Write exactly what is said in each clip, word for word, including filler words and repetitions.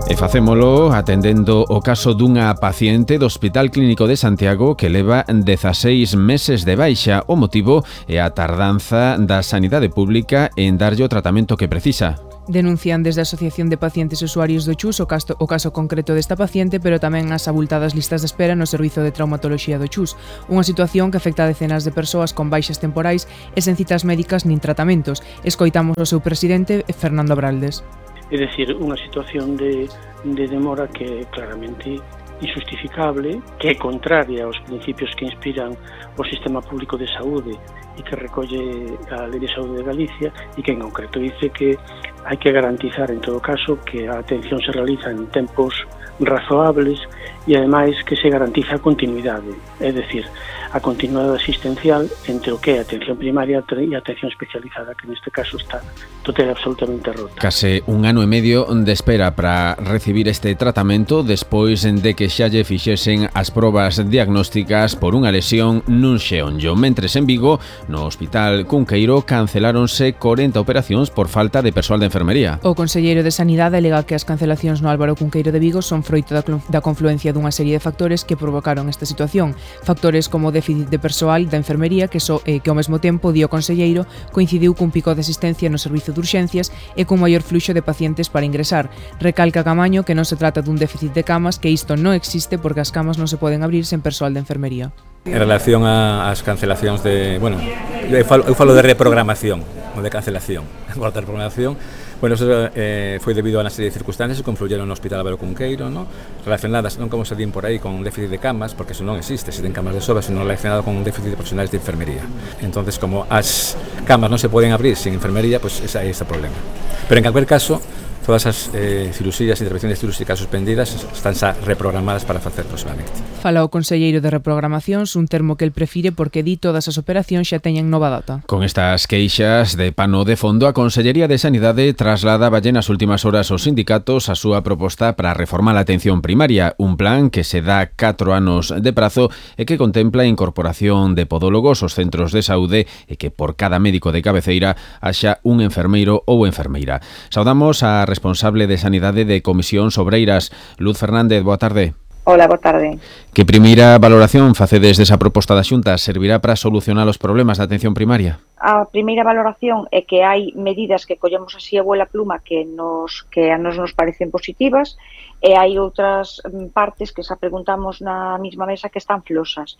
E facémolo atendendo o caso dunha paciente do Hospital Clínico de Santiago que leva dezaseis meses de baixa. O motivo é a tardanza da sanidade pública en darlle o tratamento que precisa. Denuncian desde a Asociación de Pacientes e Usuarios do Chus o caso, o caso concreto desta paciente, pero tamén as abultadas listas de espera no Servizo de Traumatoloxía do Chus, unha situación que afecta a decenas de persoas con baixas temporais e sen citas médicas nin tratamentos. Escoitamos o seu presidente, Fernando Abraldes. É dicir, unha situación de, de demora que é claramente injustificable, que é contraria aos principios que inspiran o sistema público de saúde e que recolle a Lei de Saúde de Galicia e que en concreto dice que hai que garantizar en todo caso que a atención se realiza en tempos razoables e ademais que se garantiza a continuidade, é dicir, a continuidade asistencial entre o que é a atención primaria e a atención especializada, que neste caso está total absolutamente rota. Case un ano e medio de espera para recibir este tratamento despois de que xa lle fixesen as probas diagnósticas por unha lesión nun xeonllo. Mentres en Vigo, no Hospital Cunqueiro, canceláronse corenta operacións por falta de persoal de enfermería. O conselleiro de Sanidade alega que as cancelacións no Álvaro Cunqueiro de Vigo son froito da, da confluencia dunha serie de factores que provocaron esta situación. Factores como o déficit de persoal da enfermería que, so, eh, que ao mesmo tempo, di o conselleiro, coincidiu cun pico de asistencia no servizo de urxencias e cun maior fluxo de pacientes para ingresar. Recalca Camaño que non se trata dun déficit de camas, que isto non existe porque as camas non se poden abrir sen persoal de enfermería. En relación ás cancelacións de... Bueno, eu falo, eu falo de reprogramación, non de cancelación. Agora de reprogramación, bueno, eso eh, foi debido a unha serie de circunstancias que confluyeron no Hospital Álvaro Cunqueiro, ¿no? Relacionadas non como se din por aí con déficit de camas, porque eso non existe, se ten camas de sobra, sino relacionado con un déficit de profesionales de enfermería. Entonces, como as camas non se poden abrir sin enfermería, pues ese é ese problema. Pero en calquer caso, todas as eh, cirurxías e intervenciones cirúrxicas suspendidas están xa reprogramadas para facer próximamente. Fala o conselleiro de reprogramacións, un termo que el prefire porque di todas as operacións xa teñen nova data. Con estas queixas de pano de fondo, a Consellería de Sanidade trasladaballe nas últimas horas aos sindicatos a súa proposta para reformar a atención primaria, un plan que se dá catro anos de prazo e que contempla a incorporación de podólogos aos centros de saúde e que por cada médico de cabeceira haxa un enfermeiro ou enfermeira. Saudamos a responsable de Sanidade de Comisións Obreiras, Luz Fernández, boa tarde. Hola, boa tarde. Que primeira valoración facedes desa proposta da Xunta? Servirá para solucionar os problemas da atención primaria? A primeira valoración é que hai medidas que collemos así a vuela pluma que nos que a nos nos parecen positivas e hai outras partes que xa preguntamos na mesma mesa que están flosas.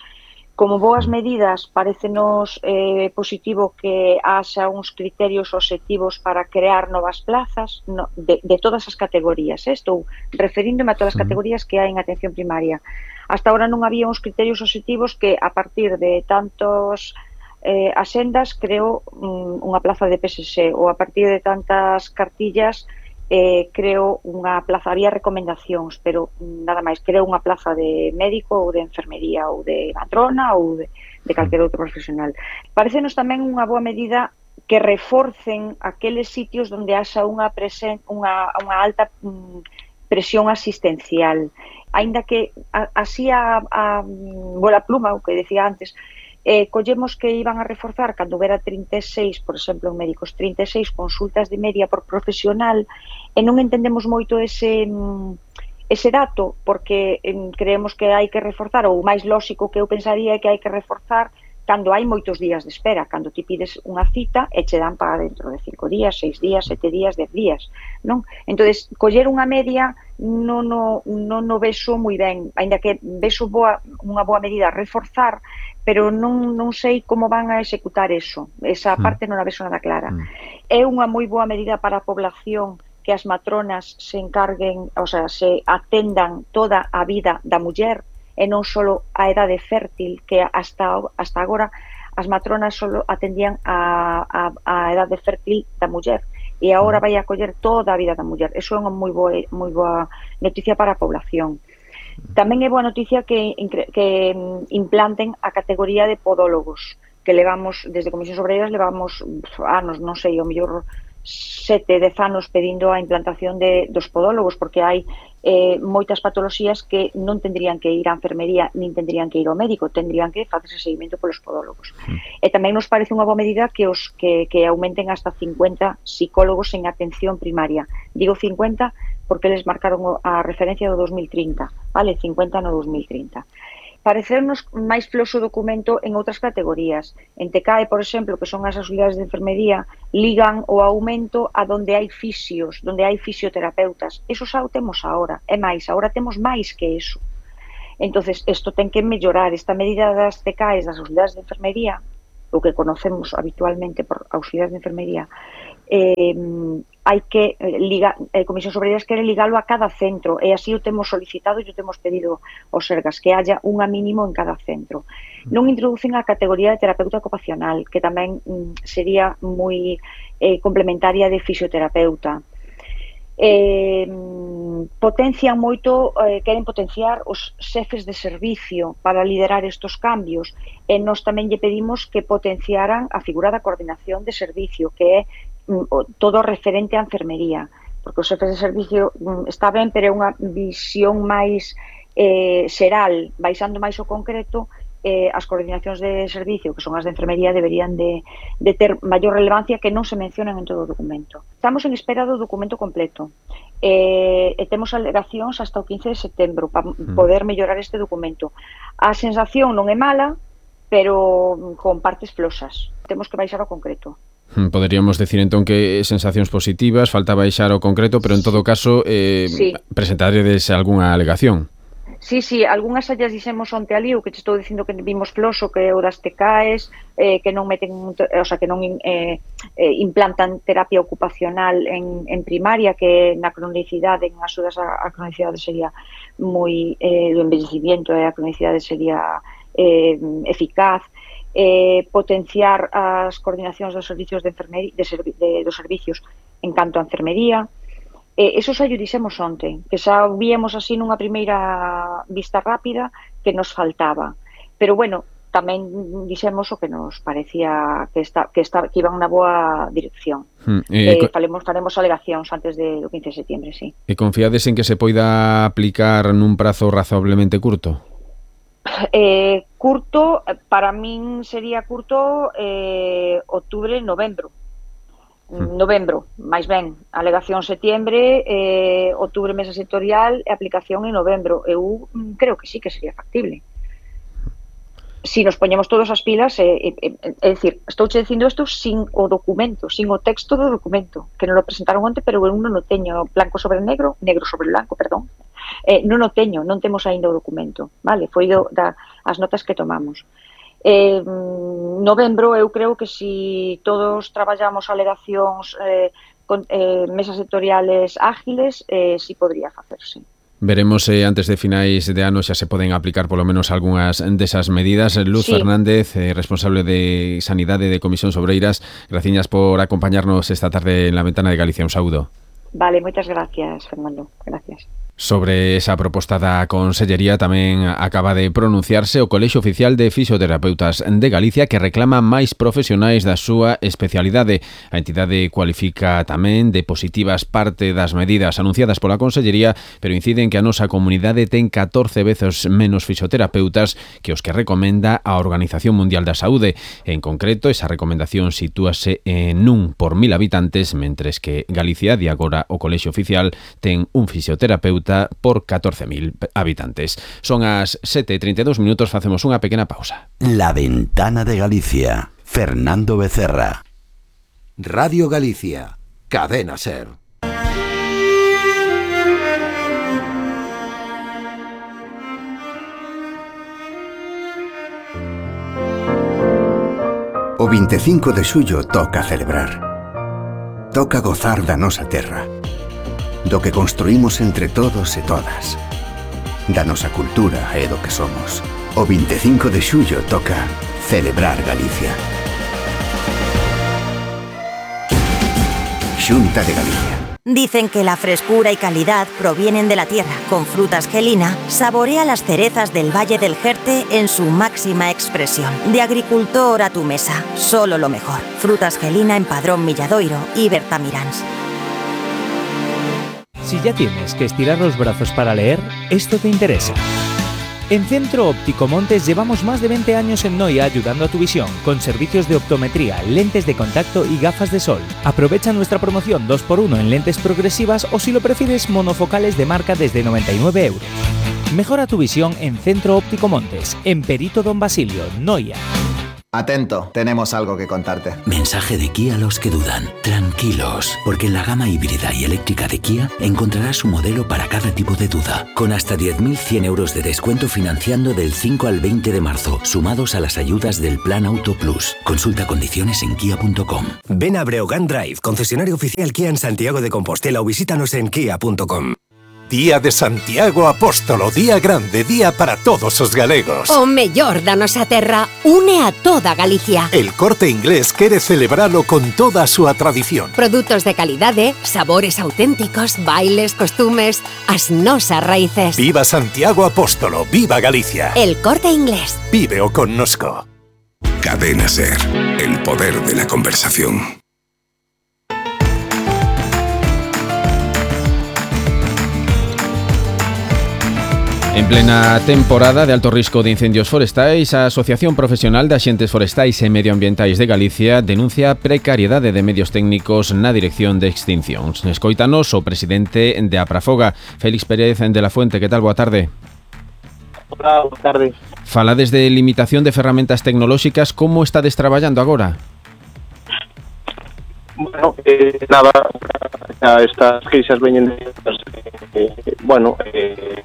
Como boas medidas, parecenos eh, positivo que haxa uns criterios obxectivos para crear novas plazas no, de, de todas as categorías. Eh? Estou referíndome a todas as categorías que hai en atención primaria. Hasta ahora non había uns criterios obxectivos que, a partir de tantos eh, asendas, creo um, unha plaza de P S S, ou a partir de tantas cartillas, Eh, creo unha plaza, había recomendacións, pero nada máis, creo unha plaza de médico ou de enfermería ou de matrona ou de, de calquer outro profesional. Parecenos tamén unha boa medida que reforcen aqueles sitios onde haxa unha, presen, unha, unha alta mm, presión asistencial. Aínda que a, así a, a bola pluma, o que decía antes, Eh, collemos que iban a reforzar cando hubiera trinta e seis, por exemplo, en médicos, trinta e seis consultas de media por profesional e non entendemos moito ese, ese dato porque eh, creemos que hai que reforzar, ou o máis lóxico que eu pensaría é que hai que reforzar cando hai moitos días de espera, cando ti pides unha cita e che dan para dentro de cinco días, seis días, sete días, dez días, non? Entonces, coller unha media non no, non no vexo moi ben, aínda que vexo boa, unha boa medida reforzar, pero non, non sei como van a executar eso. Esa parte non a vexo nada clara. Mm. É unha moi boa medida para a población que as matronas se encarguen, o sea, se atendan toda a vida da muller e non só a edade fértil, que hasta, hasta agora as matronas só atendían a, a, a edade fértil da muller e agora vai a coller toda a vida da muller. Eso é unha moi boa, moi boa noticia para a población. Tamén é boa noticia que, que implanten a categoría de podólogos, que levamos, desde Comisións Obreiras, levamos anos, non sei, o mellor sete, dez anos pedindo a implantación de, dos podólogos, porque hai eh, moitas patoloxías que non tendrían que ir á enfermería, nin tendrían que ir ao médico, tendrían que facerse seguimento polos podólogos. Mm. E tamén nos parece unha boa medida que, os, que, que aumenten hasta cincuenta psicólogos en atención primaria. Digo cincuenta porque eles marcaron a referencia do dos mil trinta, vale? cincuenta no dos mil trinta. Parecernos máis floso o documento en outras categorías. En T C A E, por exemplo, que son as auxiliares de enfermería, ligan o aumento a donde hai fisios, donde hai fisioterapeutas. Eso xa o temos agora. É máis, agora temos máis que eso. Entonces, isto ten que mellorar. Esta medida das T C A Es, das auxiliares de enfermería, o que conocemos habitualmente por auxiliares de enfermería, eh, hai que ligar, a Comisión sobre Ellas quere ligalo a cada centro, e así o temos solicitado e o temos pedido aos Sergas, que haya unha mínimo en cada centro. Non introducen a categoría de terapeuta ocupacional, que tamén mm, sería moi eh, complementaria de fisioterapeuta. Eh, potencian moito, eh, queren potenciar os xefes de servicio para liderar estos cambios, e nós tamén lle pedimos que potenciaran a figura da coordinación de servicio, que é todo referente á enfermería, porque os xefes de servicio está ben, pero é unha visión máis eh, xeral, baixando máis o concreto. Eh, as coordinacións de servicio, que son as de enfermería, deberían de, de ter maior relevancia, que non se mencionan en todo o documento. Estamos en espera do documento completo eh, e temos alegacións hasta o quince de setembro para mm. poder mellorar este documento. A sensación non é mala, pero con partes flosas. Temos que baixar o concreto. Poderíamos decir entón que sensacións positivas, falta baixar o concreto, pero en todo caso eh, sí. presentaredes algunha alegación. Sí, sí, algunhas allas dixemos onte ali, o que te estou dicindo que vimos floso, que o das T C A Es, eh, que non meten, o sea, que non eh, eh, implantan terapia ocupacional en, en primaria, que na cronicidade, en axudas a, a cronicidade sería moi, eh, do envellecimiento, e a cronicidade sería eh, eficaz. Eh, potenciar as coordinacións dos servicios de enfermería, de servi de, dos servicios en canto a enfermería. Eh, eso xa lle dixemos onte, que xa víamos así nunha primeira vista rápida que nos faltaba. Pero bueno, tamén dixemos o que nos parecía que está, que, está, que iban na boa dirección. Hmm, eh, eh, falemos, faremos alegacións antes do quince de setembro, sí. E confiades en que se poida aplicar nun prazo razonablemente curto? Eh, curto, para min sería curto eh, outubro, novembro. Hmm. Novembro, máis ben, alegación setembro, eh, outubro mesa sectorial e aplicación en novembro. Eu creo que sí que sería factible. Si nos poñemos todos as pilas, é eh, eh, eh, dicir, estou che dicindo isto sin o documento, sin o texto do documento, que non lo presentaron onte, pero eu non o teño blanco sobre negro, negro sobre blanco, perdón. Eh, non o teño, non temos aínda o documento, vale? Foi do, da, as notas que tomamos. Eh, novembro, eu creo que si todos traballamos alegacións eh, con eh, mesas sectoriales ágiles, eh, si podría facerse. Veremos se eh, antes de finais de ano xa se poden aplicar polo menos algunhas desas medidas. Luz sí. Fernández, eh, responsable de Sanidade de Comisións Obreiras, graciñas por acompañarnos esta tarde en La Ventana de Galicia. Un saúdo. Vale, moitas gracias, Fernando. Gracias. Sobre esa proposta da Consellería tamén acaba de pronunciarse o Colexio Oficial de Fisioterapeutas de Galicia, que reclama máis profesionais da súa especialidade. A entidade cualifica tamén de positivas parte das medidas anunciadas pola Consellería, pero incide en que a nosa comunidade ten catorce veces menos fisioterapeutas que os que recomenda a Organización Mundial da Saúde. En concreto, esa recomendación sitúase en un por mil habitantes, mentres que Galicia, de agora o Colexio Oficial, ten un fisioterapeuta por catorce mil habitantes. Son as sete e trinta e dous minutos, facemos unha pequena pausa. La Ventana de Galicia, Fernando Becerra. Radio Galicia, Cadena Ser. O vinte e cinco de xullo toca celebrar. Toca gozar da nosa terra, do que construímos entre todos e todas, da nosa cultura e do que somos. O vinte e cinco de xullo toca celebrar Galicia. Xunta de Galicia. Dicen que la frescura y calidad provienen de la tierra. Con Frutas Gelina, saborea las cerezas del Valle del Jerte en su máxima expresión. De agricultor a tu mesa, solo lo mejor. Frutas Gelina en Padrón Milladoiro y Bertamiráns. Si ya tienes que estirar los brazos para leer, esto te interesa. En Centro Óptico Montes llevamos más de veinte años en Noia ayudando a tu visión, con servicios de optometría, lentes de contacto y gafas de sol. Aprovecha nuestra promoción dos por uno en lentes progresivas o, si lo prefieres, monofocales de marca desde noventa y nueve euros. Mejora tu visión en Centro Óptico Montes, en Perito Don Basilio, Noia. Atento, tenemos algo que contarte. Mensaje de Kia a los que dudan. Tranquilos, porque en la gama híbrida y eléctrica de Kia encontrarás un modelo para cada tipo de duda, con hasta diez mil cien euros de descuento financiando del cinco al veinte de marzo, sumados a las ayudas del Plan Auto Plus. Consulta condiciones en kia punto com. Ven a Breogán Drive, concesionario oficial Kia en Santiago de Compostela, o visítanos en kia punto com. Día de Santiago Apóstolo, día grande, día para todos os galegos. O mellor da nosa terra une a toda Galicia. El Corte Inglés quere celebralo con toda a súa tradición. Produtos de calidade, sabores auténticos, bailes, costumes, as nosas raíces. Viva Santiago Apóstolo, viva Galicia. El Corte Inglés. Víveo connosco. Cadena SER, el poder de la conversación. En plena temporada de alto risco de incendios forestais, a Asociación Profesional de Axentes Forestais e Medioambientais de Galicia denuncia precariedade de medios técnicos na dirección de extincións. Escoítanos o presidente de Aprafoga, Félix Pérez de la Fuente. Que tal? Boa tarde. Hola, boa tarde. Fala desde limitación de ferramentas tecnolóxicas. Como estades traballando agora? Bueno, eh, nada, estas queixas veñen de... Eh, bueno, eh,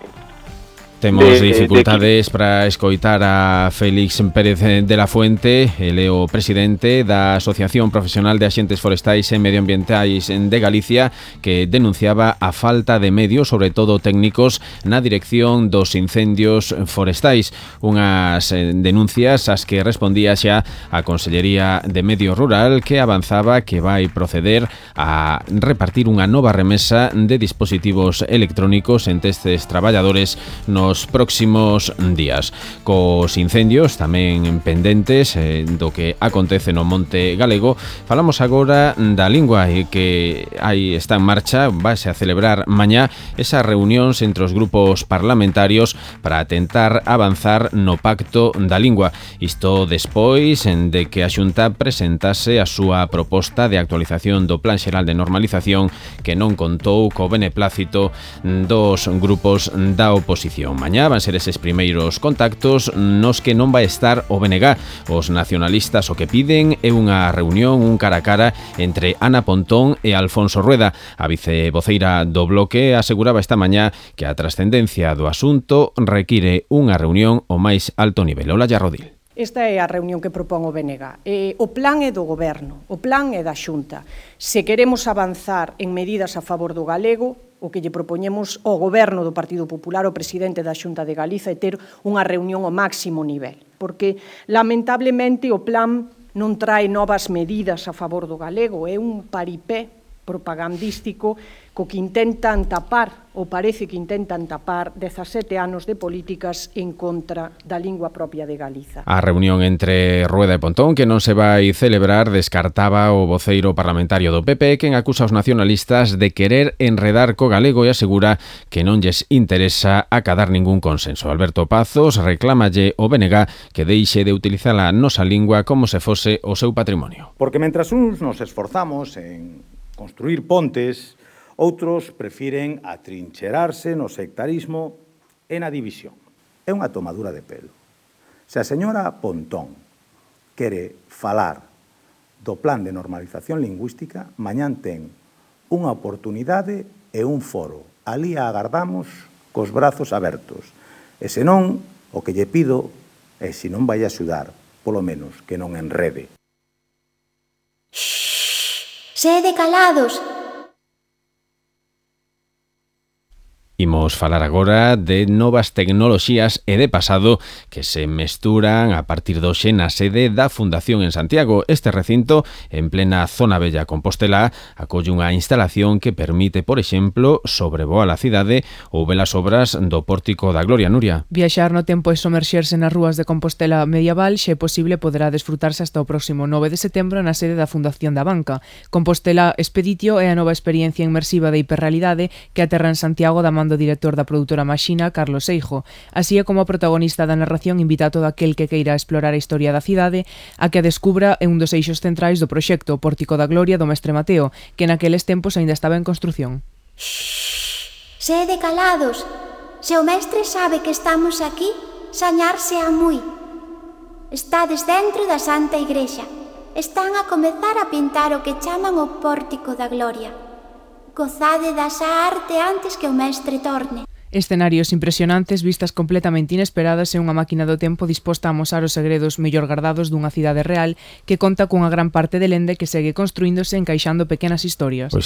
Temos de, dificultades de para escoitar a Félix Pérez de la Fuente, el é o presidente da Asociación Profesional de Axentes Forestais e Medioambientais de Galicia, que denunciaba a falta de medios, sobre todo técnicos, na dirección dos incendios forestais. Unhas denuncias ás que respondía xa a Consellería de Medio Rural, que avanzaba que vai proceder a repartir unha nova remesa de dispositivos electrónicos entre estes traballadores nos próximos días. Cos incendios tamén pendentes eh, do que acontece no Monte Galego, falamos agora da lingua, e que aí está en marcha, váse a celebrar mañá esas reunións entre os grupos parlamentarios para tentar avanzar no pacto da lingua. Isto despois de que a Xunta presentase a súa proposta de actualización do Plan Xeral de Normalización, que non contou co beneplácito dos grupos da oposición. Mañá van ser eses primeiros contactos nos que non vai estar o B N G. Os nacionalistas o que piden é unha reunión, un cara a cara entre Ana Pontón e Alfonso Rueda. A vicevoceira do Bloque aseguraba esta mañá que a trascendencia do asunto require unha reunión ao máis alto nivel. Olalla Rodil. Esta é a reunión que propón o B N G. Eh, o plan é do Goberno, o plan é da Xunta. Se queremos avanzar en medidas a favor do galego, o que lle propoñemos ao Goberno do Partido Popular, o presidente da Xunta de Galiza, é ter unha reunión ao máximo nivel. Porque, lamentablemente, o plan non trae novas medidas a favor do galego, é un paripé propagandístico co que intentan tapar, ou parece que intentan tapar, dezasete anos de políticas en contra da lingua propia de Galiza. A reunión entre Rueda e Pontón, que non se vai celebrar, descartaba o voceiro parlamentario do P P, quen acusa aos nacionalistas de querer enredar co galego e asegura que non lles interesa acadar ningún consenso. Alberto Pazos reclámalle ao B N G que deixe de utilizar a nosa lingua como se fose o seu patrimonio. Porque mentras uns nos esforzamos en construir pontes, outros prefiren atrincherarse no sectarismo e na división. É unha tomadura de pelo. Se a señora Pontón quere falar do plan de normalización lingüística, mañán ten unha oportunidade e un foro. Alí a agardamos cos brazos abertos. E senón, o que lle pido é, se non vai a axudar, polo menos que non enrede. Shhh, sede calados. Imos falar agora de novas tecnoloxías e de pasado que se mesturan a partir de hoxe na sede da Fundación en Santiago. Este recinto, en plena zona bella Compostela, acolle unha instalación que permite, por exemplo, sobrevoar a cidade ou ver as obras do Pórtico da Gloria. Nuria. Viaxar no tempo e somerxerse nas rúas de Compostela medieval, xe é posible, poderá desfrutarse hasta o próximo nove de setembro na sede da Fundación da Banca. Compostela Expeditio é a nova experiencia inmersiva de hiperrealidade que aterra en Santiago da man do do director da produtora Maxina, Carlos Seijo, así é como a protagonista da narración invita a todo aquel que queira explorar a historia da cidade a que a descubra en un dos eixos centrais do proxecto, o Pórtico da Gloria do Mestre Mateo, que naqueles tempos aínda estaba en construción. Sede calados. Se o mestre sabe que estamos aquí, sañarse a moi. Estades dentro da Santa Igrexa. Están a comezar a pintar o que chaman o Pórtico da Gloria. Gozade dasa arte antes que o mestre torne. Escenarios impresionantes, vistas completamente inesperadas e unha máquina do tempo disposta a amosar os segredos mellor gardados dunha cidade real que conta cunha gran parte de lende que segue construíndose encaixando pequenas historias. Pois